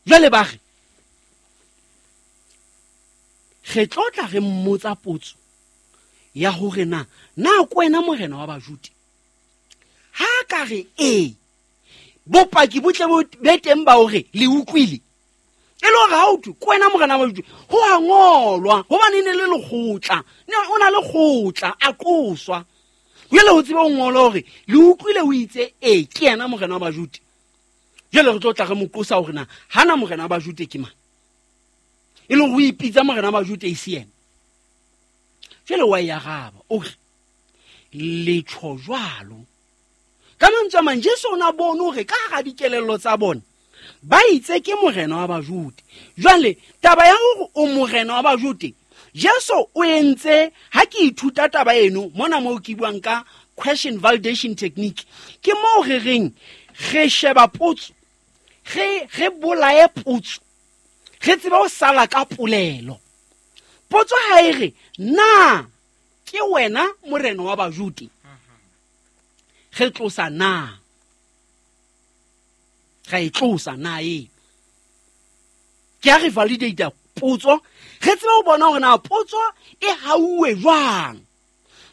Jwale ba re re tlo tla re mmotsa potso ya hore na na ke wena morena wa Bajude. Ha ka re ee, bopaki bo tle bo be teng ba hore le utlwile. E le hore ha o thwe ke wena morena wa Bajude, ho a ngolwa hobane e ne le lekgotla, ne o na le kgotla, a qoswa. Jwale ho tsebe ho ngola hore le utlwile o itse ee ke yena morena wa Bajude. Jwale re tlo tla re mo qosa hore na hana morena wa Bajude ke mang, e leng ho ipitsa morena wa Bajude e se yena. Jwale wa e araba o re le tjho jwalo. Ka mantswe a mang, Jesu o na bone hore ka hara dikelello tsa bona ba itse ke morena wa Bajude. Jwale taba ya hore o morena wa Bajude, Jesu o entse, ha ke ithuta taba eno mona moo ke buang ka question validation technique, ke moo re reng re sheba potso, re bolaye potso, re tsebe ho sala ka polelo. Potso ha e re na ke wena morena wa Bajude, re tlosa na, ra e tlosa na e ke ya re validate potso, re tsebe ho bona hore na potso e hauwe jwang.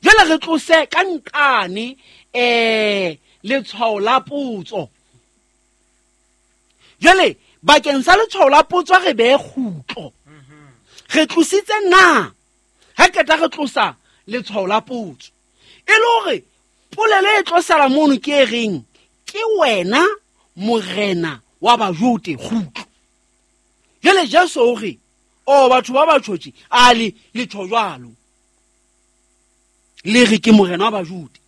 Jwale re tlose ka nqane letshwao la potso. Jwale bakeng sa letshwao la potso re behe kgutlo. Re tlositse na, ha qeta re tlosa letshwao la potso, e le hore polelo e tlo sala mono ke e reng ke wena morena wa Bajude, kgutlo. Jwale Jesu o re, o batho ba ba tjhotje, a le le tjho jwalo, le re ke morena wa Bajude.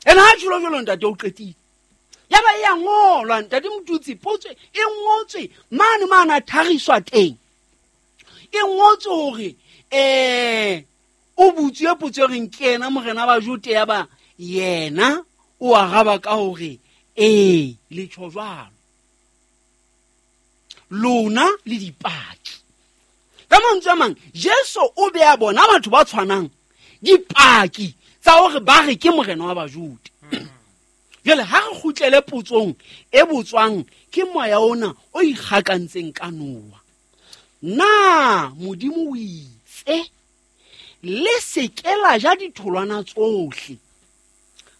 Ene ha tjholo jwalo ntate o qetile. Ya ba e a ngolwa ntate Motutsi, potso e ngotswe mane mane a thariswa teng. E ngotswe hore o butswe potso e reng ke yena morena wa Bajude, ya ba yena o araba ka hore ee le tjho jwalo, lona le dipaki. Ka mantswe a mang, Jesu o be a bona batho ba tshwanang dipaki tsa hore ba re ke morena wa Bajude. Jwale ha re kgutlele potsong e botswang ke moya ona o ikgakantseng ka Noah. Na Modimo o itse le se ke la ja ditholwana tsohle?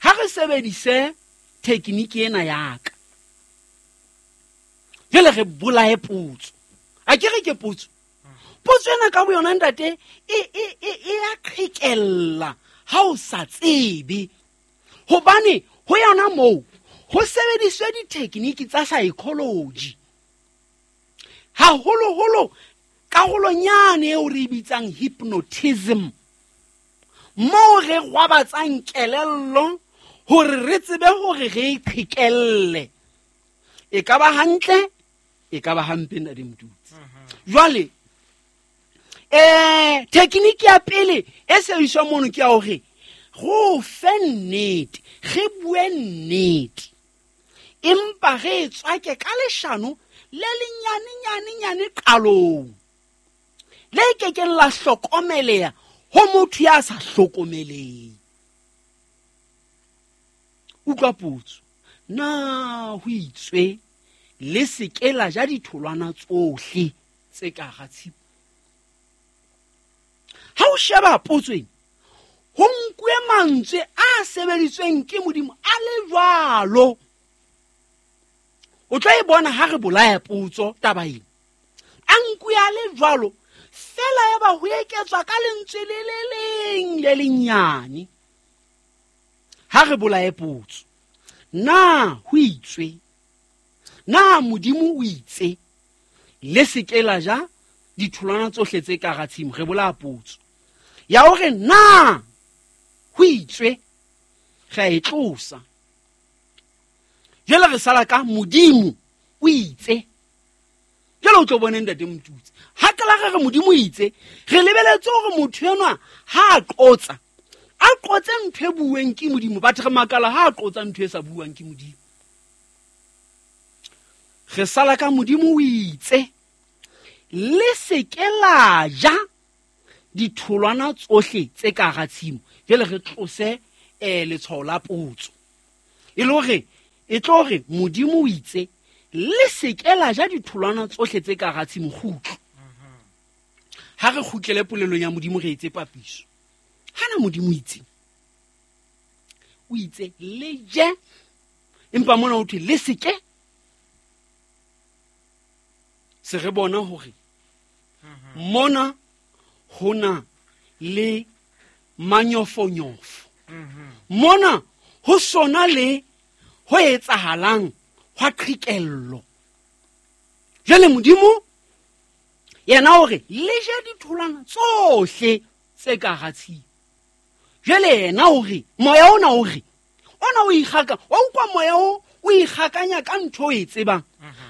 Ha re sebedise tekniki ena ya ka. Jwale re bolaye potso. A ke re ke potso. Potso ena ka boyona ntate e a qhekella ha o sa tsebe. Hobane ho yona moo ho sebediswe ditekniki tsa psychology. Haholoholo karolonyane eo re e bitsang hypnotism, moo re gwabatsang kelello hore re tsebe hore re e qhekelle. E ka ba hantle, e ka ba hampe ntate Motutsi. Jwale tekniki ya pele e sebediswang mono ke ya hore go fe nnete, re bue nnete, empa re e tswake ka leshano le lenyane nyane nyane qalong, le kekeng la hlokomeleha ho motho ya sa hlokomeleng. Utlwa potso, na ho itswe le se ke la ja ditholwana tsohle tse ka hara tshimo? Ha o sheba potso ena, ho nkuwe mantswe a sebeditsweng ke Modimo a le jwalo. O tlo e bona ha re bolaya potso taba ena. A nkuwe a le jwalo, fela ya ba ho eketswa ka lentswe le le leng le lenyane. Ha re bolaye potso, na ho itswe, na Modimo o itse le se ke la ja ditholwana tsohle tse ka hara tshimo? Re bolaya potso ya hore na ho itswe, re a e tlosa. Jwale re sala ka Modimo o itse. Jwale o tlo bone ntate Motutsi, ha ke la re re Modimo o itse, re lebeletse hore motho enwa ha a qotsa, a qotse ntho e bueng ke Modimo. Batho re makala ha a qotsa ntho e sa buang ke Modimo. Re sala ka Modimo o itse le se ke la ja ditholwana tsohle tse ka hara tshimo. Jwale re tlose letshwao la potso, e le hore e tlo re Modimo o itse Le se ke la ja ditholwana tsohle tse ka hara tshimo kgutlo. Ha re kgutlele polelong ya Modimo re etse papiso. Hana Modimo itse. O itse le je. Empa mona ho thwe le se ke. Se re bona hore mona hona le manyofonyofo. Mona ho sona le ho etsahalang hwa qhikello. Jwale Modimo yena o re le je ditholwana tsohle tse ka hara tshimo. Jwale yena o re moya ona o re ona o ikgaka, wa utlwa moya o o ikgakanya ka ntho o e tsebang.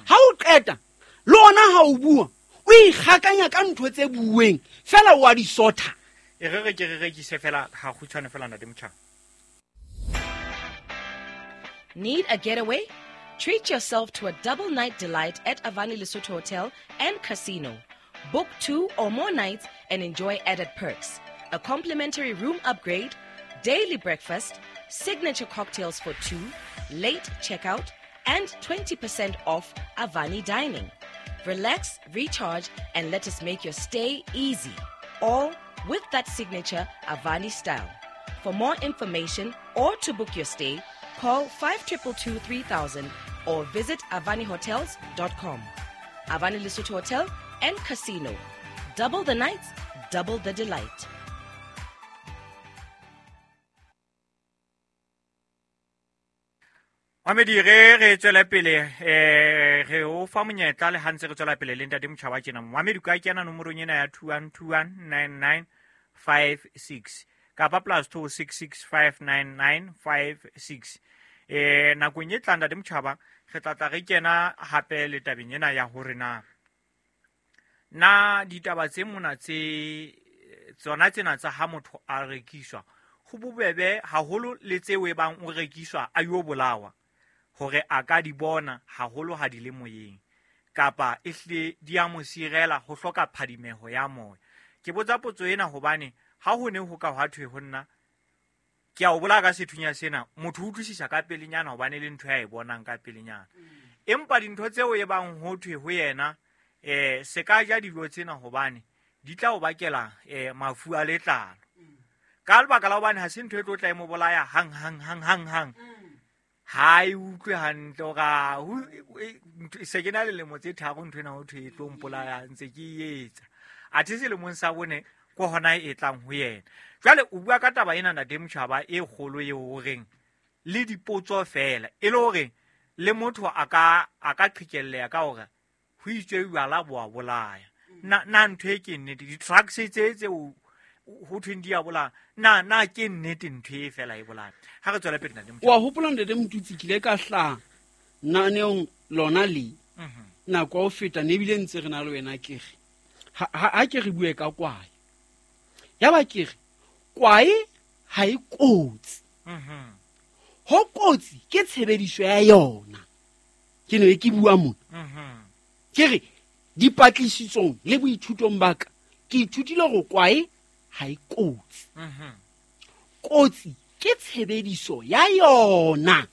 Ha o qeta le ona ha o bua o ikgakanya ka ntho tse bueng fela o a di sotha. E re re ke re rekise fela ha kgutshwane fela ntate Motjhaba. Need a getaway? Treat yourself to a double night delight at Avani Lesotho Hotel and Casino. Book 2 or more nights and enjoy added perks. A complimentary room upgrade, daily breakfast, signature cocktails for 2, late checkout, and 20% off Avani dining. Relax, recharge, and let us make your stay easy. All with that signature Avani style. For more information or to book your stay, call 5222 3000 or visit avanihotels.com. Avani Lesotho Hotel and Casino. Double the nights, double the delight. Mamedi re re tswela pele re o fa monyetla le ha ntse re tswela pele le ntate Motjhaba tjena. Mamedi ka kena nomorong ena ya 21219956 kapa +26659956. Nakong e tlang ntate Motjhaba re tla tla re kena hape le tabeng ena ya hore na na ditaba tse mona tse tsona tsena tsa ha motho a rekiswa ho bobebe haholo le tseo e bang o rekiswa a yo bolawa hore a ka di bona haholo ha di le moyeng kapa ehle di a mo sirela ho hloka phadimeho ya moya. Ke botsa potso ena hobane ha ho ne ho ka hwa thwe ho nna ke a o bolaya ka sethunya sena, motho o utlwisisa ka pelenyana hobane le ntho ya e bonang ka pelenyana. Empa dintho tseo e bang ho thwe ho yena se ka ja dijo tsena hobane di tla o bakela mafu a letlalo. Ka lebaka la hobane ha se ntho e tlo tla e mo bolaya hang hang hang hang hang. Ha e utlwe hantle hore se ke na le lemo tse tharo ntho ena ho thwe e tlo mpolaya ntse ke e etsa. Athe selemong sa bone ko hona e tlang ho yena. Jwale o bua ka taba ena ntate Motjhaba e kgolo eo o reng le dipotso fela e le hore le motho a ka qhikelleha ka hore ho itswe jwala bo a bolaya. Na ntho e ke nnete di-drugs tse tse ho thweng di a bolaya na ke nnete ntho e fela e bolaya. Ha re tswela pele ntate Motjhaba. Wa hopola ntate Motutsi ke ile ka hlaha naneong lona le nako ya ho feta ne ebile ntse re na le wena ke re ha ke re bue ka kwae. Ya ba ke re kwae ha e kotsi. Ho kotsi ke tshebediso ya yona. Ke ne ke bua mona. Ke re dipatlisisong le boithutong ba ka ke ithutile hore kwae ha e kotsi. Kotsi ke tshebediso ya yona.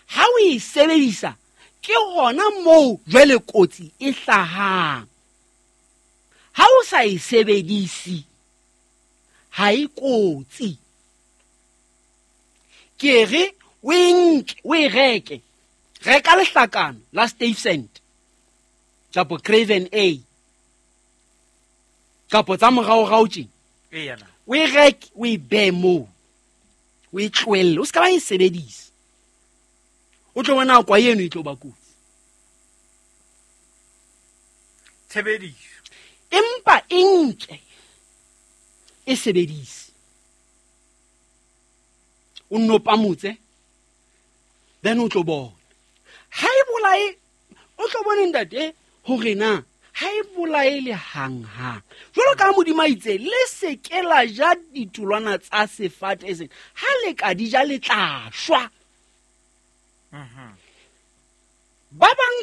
Ha o e sebedisa ke hona moo jwale kotsi e hlahang. Ha o sa e sebedise ha e kotsi. Ke re o e nke, o e reke. Reka lehlakano la Stuyvesant kapa Craven A kapa tsa moraorao tje. O e reke, o e behe moo. O e tlohelle, o se ka ba e sebedisa. O tlo bona kwa eno e tlo ba kotsi. Tshebediso. Empa e nke e sebedise. O nno pamotse, then o tlo bona. Ha e bolae, o tlo bona ntate hore na ha e bolae le hang hang. Jwalo ka Modimo a itse le se ke la ja ditholwana tsa sefate sena. Ha le ka di ja le tla shwa. Ba bang